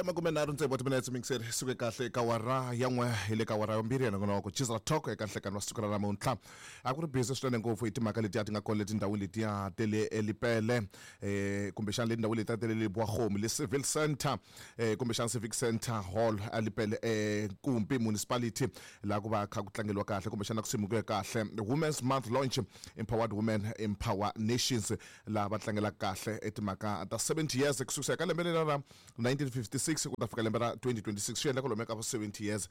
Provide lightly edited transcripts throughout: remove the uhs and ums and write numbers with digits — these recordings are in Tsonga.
Makumenharhu tsevu wa timinetse mingiseri suke kahle eka wara ya n'we hi le ka wara yambirhi ya nongonoko Chisela Talk eka nhlekani wa siku ra namuntlha. A ku ri busy swinene ngopfu hi timhaka letiya ti nga kona le tindhawini letiya te le Elipele, kumbexana le tindhawini letiya te le Lebowa-Kgomo, le Civil Center, kumbexana Civic Center Hall eLipele, Nkumpi Municipality, laha ku va kha ku tlangeliwa kahle kumbexana ku simekiwe kahle Women's Month Launch, Empowered Women Empower Nations, laha va tlangelaka kahle timhaka ta 70 years ku sukisa ka lembe lera ra 1956 ku ta fika lembe ra 2026. Swi endla ku lomu ka 70 years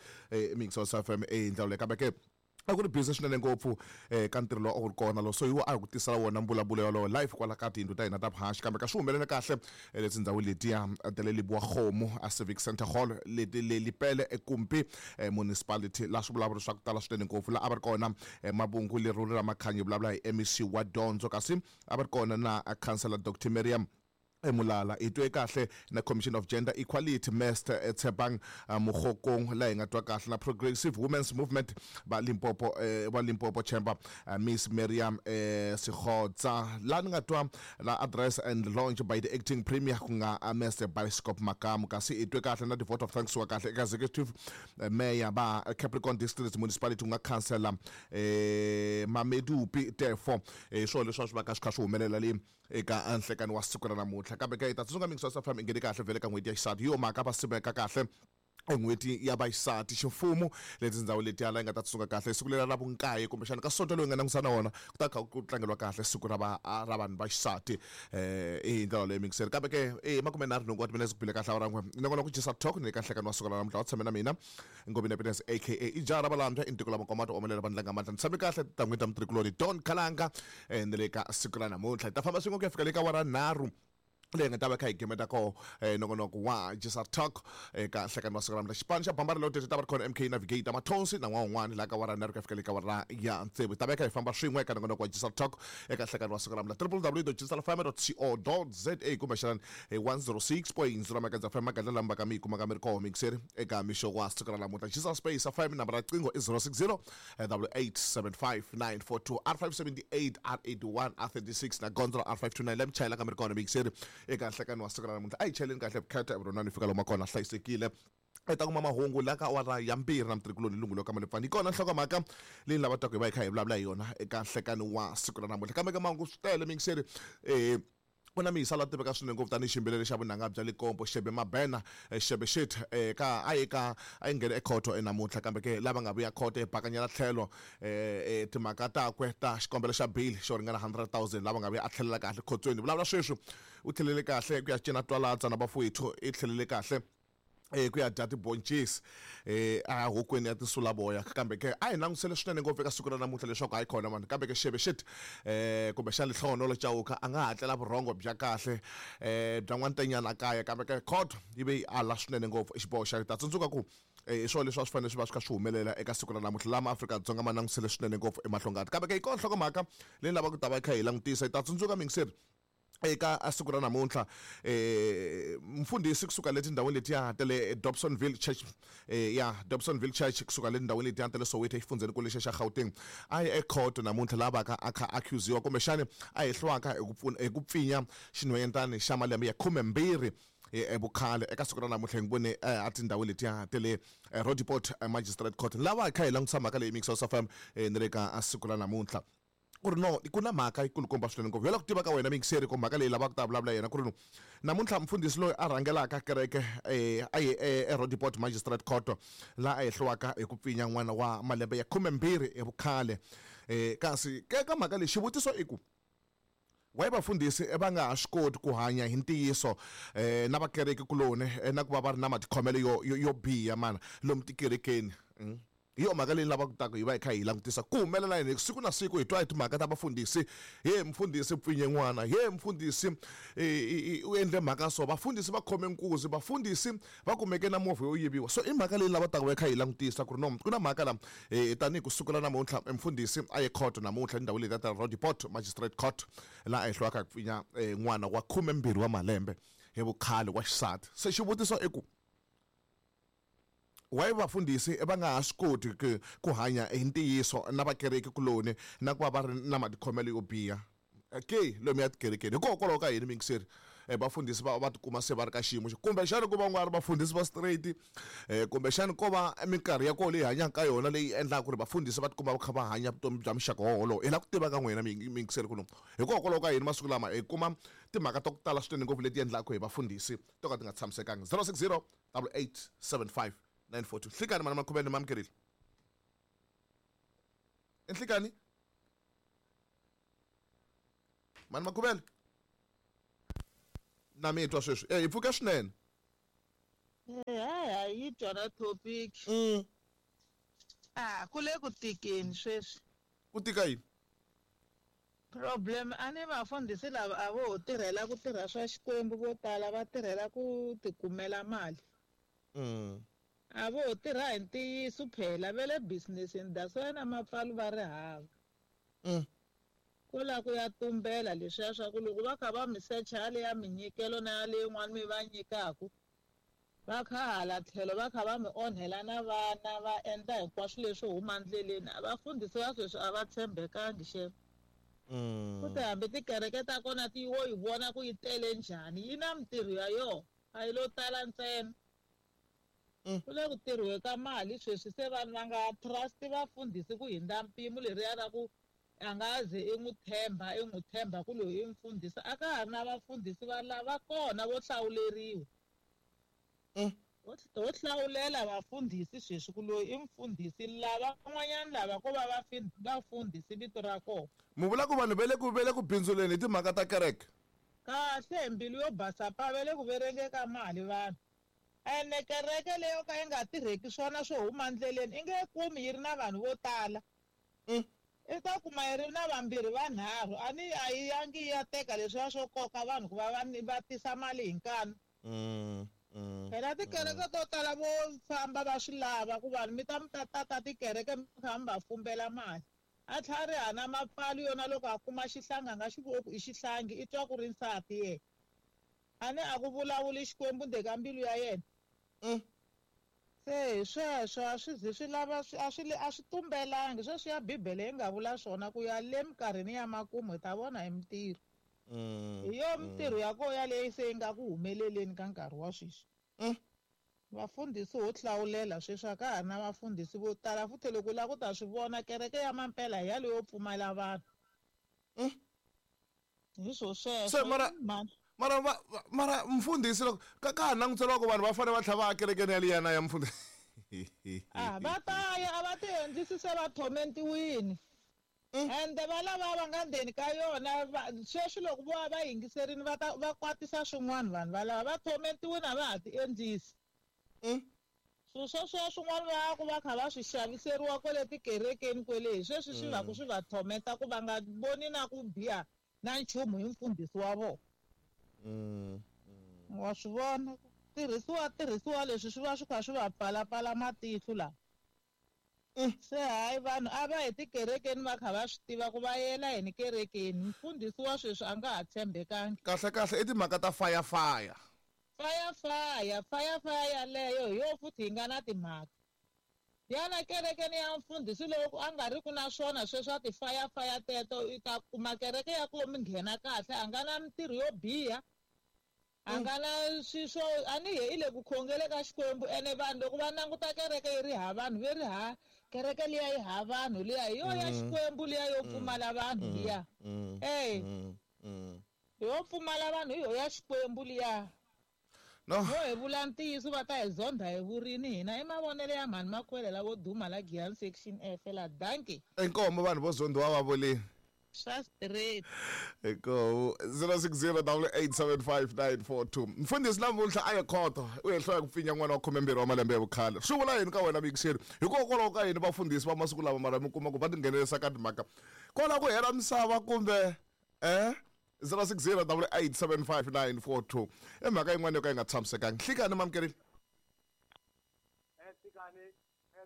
mixos FM hi ndlela leyi. Kambe ke a ku ri busy swinene ngopfu ka ntirho lowu a wu ri kona lo, so hi wo a hi ku tisela wona mbulavulo yolowo live kwala ka tiyindlu ta hina ta vuhaxi. Kambe ka swi humelele kahle le tindhawini letiya ta le Lebowa-Kgomo a Civic Center Hall leti le Lipele eKumpi Municipality, laha swi vulavuri swa ku tala swinene ngopfu. Laha a va ri kona Mabungu Leruri ra Makhanyi, vulavula hi MEC wa dyondzo, kasi a va ri kona na Councillor Dr Miriam Mulala. Hi twe kahle na Commission of Gender Equality Mester Tshepang Mokgokong, laha hi nga twa kahle na Progressive Women's Movement va Limpopo, va Limpopo Chamber Miss Miriam Sekhotsa, laha ni nga twa la address and launch by the acting premier ku nga Mr Bioscope Makamu. Kasi hi twe kahle na the vote of thanks wa kahle eka executive mayor va Capricorn District Municipality ku nga councillor Mamedupi Tefo. Hi swona leswi a swi va ka swi kha swi humelela le eka nhlekani wa siku ra namuntlha. Kambe ke hi ta tsundzuka mingi swa FM i nghene kahle vhele ka n'hweti ya xisati, hi yo mhaka va simeka kahle en'hweti ya vaxisati ximfumo leti tindhawu letiya la yi nga ta tsundzuka kahle siku leri ra vunkaye kumbexana ka sonto loyi nga langusa na wona ku ta kha ku tlangeliwa kahle siku ra va ra vanhu va xisati hi ndlela leyi mingiseri. Kambe ke i 38 wa timinetse ku bile kahle awara n'we nongonoko Jisa Talk ni le ka nhlekani wa siku ra namuntlha. Wa tshame na mina Ngobeni Happiness aka i jaha ra valambya i ntiko la makomato omelela vandla nga mandla. Ni tshame kahle titangwini ta mutirhikuloni Don Khalanga ni le ka siku ra namuntlha. Hi ta famba swin'we ku ya fika le ka wara nharhu leyi nga ta va kha hi gemeta koho nongonoko wa Jisa Talk eka nhlekani wa siku ra namuntlha. Xipano xa Bambara Loaded ta va ri khona MK Navigator Mathonsi na n'wana un'wana laha ka wara nharhu ku ya fika le ka wara ya tsevu. Hi ta va kha hi famba swin'we eka nongonoko wa Jisa Talk eka nhlekani wa siku ra namuntlha. www.jisalfm.co.za kumbexana hi 106.0 Makadza FM, magadla lama va ka mi yi kumaka mi ri koho mixeri eka mixo wa siku ra namuntlha. Jisa Space FM, nambara ya riqingho i 060 8875942, R578, R81, R36 na gondzo ra R529 la mi chayelaka mi ri kona mixeri eka nhlekani wa siku ra namuntlha. A hi chayeleni kahle vukheta evuronani fika lomu kona hlayisekile. Hi ta kuma mahungu la ka awara ya mbirhi na mutirhikuloni Lungulo ka Malipfani. Hi kona nhlokomhaka leyi ni lava ku hi va hi kha hi vulavula hi yona eka nhlekani wa siku ra namuntlha. Kambe ka mahungu swi tele mixeri, ku na miyisa la tiveka swinene ngopfu tanihi xiyimbeleri xa vunanga bya Limpopo Shebe Mabena, Shebe Shit, ka a yi ka a yi nghene ekhoto enamuntlha. Kambe ke lava nga vuya khoto yi bakanyela tlhelo timhaka takwe ta xikombelo xa bail xo ringana 100,000, lava nga vuya a tlhelela kahle khotsweni. Vulavula sweswi u tlhelele kahle ku ya cina twalatsa na vafowethu, i tlhelele kahle ku ya dya tiboncisi a hokweni ya tinsulavoya. Kambe ke a hi langutisele swinene ngopfu eka siku ra namuntlha leswaku hayi khona mani. Kambe ke Shebe Shit, kumbexana Lehlohonolo Chauke a nga hatlela vurhongo bya kahle bya n'wantenyana kaya. Kambe ke khoto yi ve yi ala swinene ngopfu xiboho xa ta tsundzuka ku hi swona leswi a swi fanele swi va swi kha swi humelela eka siku ra namuntlha lama Afrika-Dzonga ma langutisele swinene ngopfu emahlongati. Kambe ke hi kona nhlokomhaka leyi ni lavaka ku ta va yi kha hi langutisa. Hi ta tsundzuka mingiseri eka siku ra namuntlha mfundhisi kusuka le tindhawini letiya ta le Dobsonville Church, ya Dobsonville Church kusuka le tindhawini letiya ta le Soweto exifundzheni kulu lexiya xa Gauteng, a ye ekhoto namuntlha laha vaka a kha accusiwa kumbexani a hehliwaka hi ku pfuna hi ku pfinya xinhwanyetani xa malembe ya 12 vukhale. Eka siku ra namuntlha hi n'wi vone a tindhawini letiya ta le Roodepoort Magistrate Court. Lava hi kha hi langutisa mhaka leyi Mix House FM ni le ka siku ra namuntlha ku ri no ku na mhaka yikulukumba swinene ngopfu. Hi la ku tiva ka wena miyingiseri ku mhaka leyi lavaka ku ta vulavula yena ku ri no namuntlha mfundhisi loyi a rhangelaka kereke a ye eRoodepoort Magistrate Court laha a hehliwaka hi ku pfinya n'wana wa malembe ya 12 hi vukhale. Kasi ke ka mhaka leyi xivutiso i ku why vafundhisi va nga ha swi koti ku hanya hi ntiyiso na vakereki kuloni na ku va va ri na matikhomelo yo biha mana lomu tikerekeni? Hi yona mhaka leyi ni lavaka ku ta ku hi va hi kha hi langutisa ku humelela yini siku na siku. Hi twa hi timhaka ta vafundhisi, he mfundhisi pfinye n'wana, he mfundhisi u endle mhaka so, vafundhisi va khome nkuzi, vafundhisi va kumeke na movha yo yiviwa. So i mhaka leyi ni lava taka va kha hi langutisa ku ri no ku na mhaka la tanihi ku sukela namuntlha mfundhisi a ye khoto namuntlha endhawini leyi ta Roodepoort Magistrate Court laha a hehliwaka hi ku pfinya n'wana wa 12 wa malembe hi vukhale wa xisati. Se xivutiso i ku why vafundhisi va nga ha swi koti ku hanya hi ntiyiso na vakereki kuloni na ku va va ri na matikhomelo yo biha ke lomu ya tikerekeni? Hikokwalaho ka yini mingiseri? Vafundhisi va tikuma se va ri ka xiyimo xo kumbexani ku va nga ri vafundhisi va straight, kumbexani ko va minkarhi ya koho leyi hanyaka ka yona leyi endlaka ku ri vafundhisi va tikuma va kha va hanya vutomi bya muxaka wolowo. Hi lava ku tiva ka n'wina miyingiseri ku hikokwalaho ka yini masiku lama hi kuma timhaka ta ku tala swinene ngopfu leti endlaka hi vafundhisi to ka ti nga tshamisekanga. 060 8875 942. Nhlikani mana Makhuvele, ni mamukerile. Nhlikani mani Makhuvele, na mi twa sweswi? Hi pfuke swinene. Hayi, yi twa na topic. Ku le ku tikeni sweswi. Ku tika yini? Problem a ni vafundhisi lava a vo tirhela ku tirha swa Xikwembu, vo tala va tirhela ku tikumela mali. A vo tirha hi ntiyiso phela, va le business-ini, that's why na mapfalo va ri hava. Ko la ku ya tumbela leswiya swa ku loko va kha va mi secha yale ya minyikelo na yale yin'wana mi va nyikaku, va kha hala tlhelo va kha va mi onhela na vana, va endla hinkwaswo leswi huma ndleleni. A vafundhisi va sweswi a va tshembekangi xem. Futhi hambi tikereke ta kona ti wo yi vona ku yi tele njhani, yi na mintirho ya yona, a yi lo tala ntsena. Ku le ku tirhiwe ka mali sweswi, se vanhu va nga trust vafundhisi ku hindza mpimo leriya ra ku a nga ze i n'wi tshemba, i n'wi tshemba ku loyi i mufundhisi. A ka ha ri na vafundhisi va lava kona vo hlawuleriwa. Ho hlawulela vafundhisi sweswi ku loyi i mufundhisi, lava van'wanyana lava ko va vafundhisi vito ra kona. Mi vula ku vanhu va le ku bindzuleni hi timhaka ta kereke? Kahle, hi mbilu yo basa pa, va le ku verenge ka mali vanhu. Ene kereke leyo ka yi nga tirheki swona swo huma ndleleni i nge kumi yi ri na vanhu vo tala. I ta kuma yi ri na vambirhi vanharhu, a ni a yi yangi yi ya teka leswiya swo koka vanhu ku va va tisa mali hi nkani. Phela tikereke to tala vo famba va swi lava ku vanhu mi ta mi ta tata tikereke mi kha mi va fumbela mali. A tlhela ri hana mapfalo yona loko a kuma xihlangi a nga xi voni ku i xihlangi, i twa ku ri nsati yena. A ni a ku vulavuli Xikwembu ndzeni ka mbilu ya yena. Se hi sweswo a swi zi swi lava a swi a swi tumbelangi sweswi ya Bibele yi nga vula swona ku ya le minkarhini ya makumu hi ta vona hi mintirho. Hi yo mintirho ya koho yaleyo se yi nga ku humeleleni ka nkarhi wa sweswi. Vafundhisi ho hlawulela sweswi, a ka ha ri na vafundhisi vo tala. Futhi loko u lava ku ta swi vona, kereke ya mampela hi yaleyo yo pfumala vanhu. Hi swo sweswo. Se mara mfundhisi loko ka ha languteriwa ku vanhu va fanele va tlhela va ya kerekeni yaliya na ya mfundhisi. Va ta ya, a va ti endlisi se va thomentiwini. Ende va lava va nga ndzeni ka yona, sweswi loko vo va yingiserini va ta va kwatisa swin'wana vanhu va lava va thomentiwini a va ha ti endlisi. Swilo sweswiya swin'wana va ku va kha va swi xaviseriwa kwale tikerekeni kwele, hi sweswi swi va ku swi va thomenta ku va nga voni na ku biha na nchumu hi mfundhisi wa vona. Wa swi vona, tirhisiwa leswi swi va swi kha swi va pfalapfala matihlo lawa. Se hayi vanhu a va hi tikerekeni va kha va swi tiva ku va yela yini kerekeni. Mfundhisi wa sweswi a nga ha tshembekangi. Kahle kahle i timhaka ta fire fire. Fire fire, fire fire yaleyo hi yo futhi yi nga na timhaka. Yana kerekeni ya mfundhisi loko a nga ri ku na swona sweswo a ti fire fire teto, i ta kuma kereke ya ku mi nghena kahle, a nga na mintirho yo biha. A nga na swiswo, a ni he i le ku khongele ka Xikwembu. Ene vanhu loko va languta kereke yi ri ha vanhu, ve ri ha kereke liya yi ha vanhu liya, hi yo ya Xikwembu liya yo pfumala vanhu liya. Yo pfumala vanhu hi yo ya Xikwembu liya. No. Yo hi vula ntiyiso va ta hi zondha hi vurini hina. I mavonelo ya mhani Makwele lavo duma la Giyani section F la. Dankie. Inkomo vanhu vo zondhiwa va vulini. Swa straight. Inkomo 060 8875 942. Mfundhisi namuntlha a ye khoto, u hehliwa hi ku pfinya n'wana wa 12 wa malembe ya vukhale. Swi vula yini ka wena miyingiseri? Hikokwalaho ka yini vafundhisi va masiku lama mara mi kuma ku va tinghenelerisa ka timhaka kwala ku hela misava kumbe 060 8875 942. I mhaka yin'wana yo ka yi nga tshamisekangi. Nhlikani mamukerile? Nhlikani,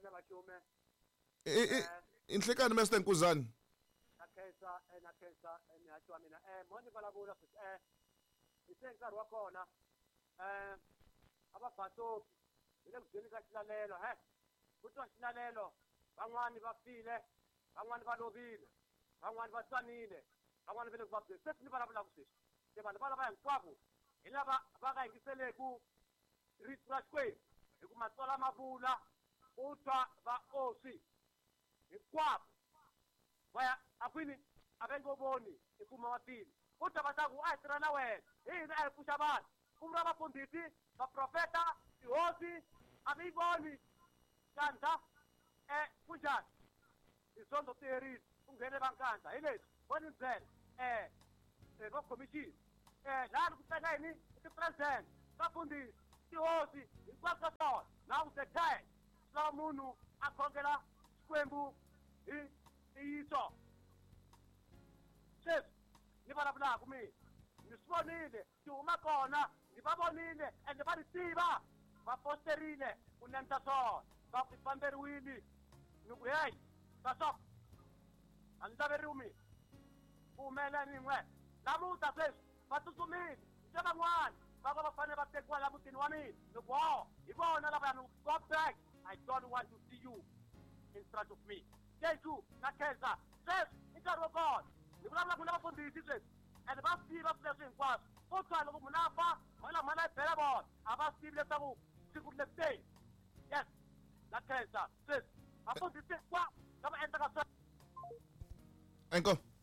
na Machume. I Nhlikani Mr Nkuzani. Na khensa, na khensa, mihaxi wa mina. Mo ni vulavula sweswi, hi se nkarhi wa kona. A va basopi hi le ku dyeni ka xilalelo, he. Ku twa xilalelo, van'wani va file, van'wani va lovile, van'wani va tsanile, van'wani va le ku vabyeni. Sweswi ni vulavulaka sweswi, se vanhu va lava hinkwavo Hi lava va nga yingiseleku rito ra Xikwembu, hi ku Matsalwa ma vula u twa vaoswi hinkwavo va ya a kwini, a va nge voni i mfumo wa tilo. U twa va ta ku a hi tirha na wena, hi hina a hi pfuxa vanhu, ku vuriwa vafundhisi, vaprofeta, tihosi, a mi yi voni kandza. Kunjhani? Tidyondzo ti herile, ku nghene va nkandla hi leswi vo ni byela vo khomixini laha ni ku tsenga yini ti-president, vafundhisi, tihosi, hinkwaswo ka swona. Now the time swi lava munhu a khongela Xikwembu hi ntiyiso. Sweswi ni vulavulaka mina ni swi vonile, ti huma kona, ni va vonile ende va ni tiva, va posterile ku endla swona, va ku famberiwile. Ni ku heyi, basop, a ni laveriwi mina, ku humelela ni n'we namuntlha. Sweswi va tsutsumile se van'wana va va va fanele va tekiwa la mutini wa mina. Ni ku ho hi vona lavaya, ni go back, I don't want to see you in front of me. Thank you na khensa. Sweswi i nkarhi wa kona ni vulavula ku na vafundhisi sweswi, ende va swi tiva swilo leswi hinkwaswo. Ko tshwa loko munhu a fa, mhala yi bela vona, a va swi tivi leswaku siku ri le kuteni. Yes, na khensa. Sweswi vafundhisi hinkwavo lava endlaka sweswo. Inkomu.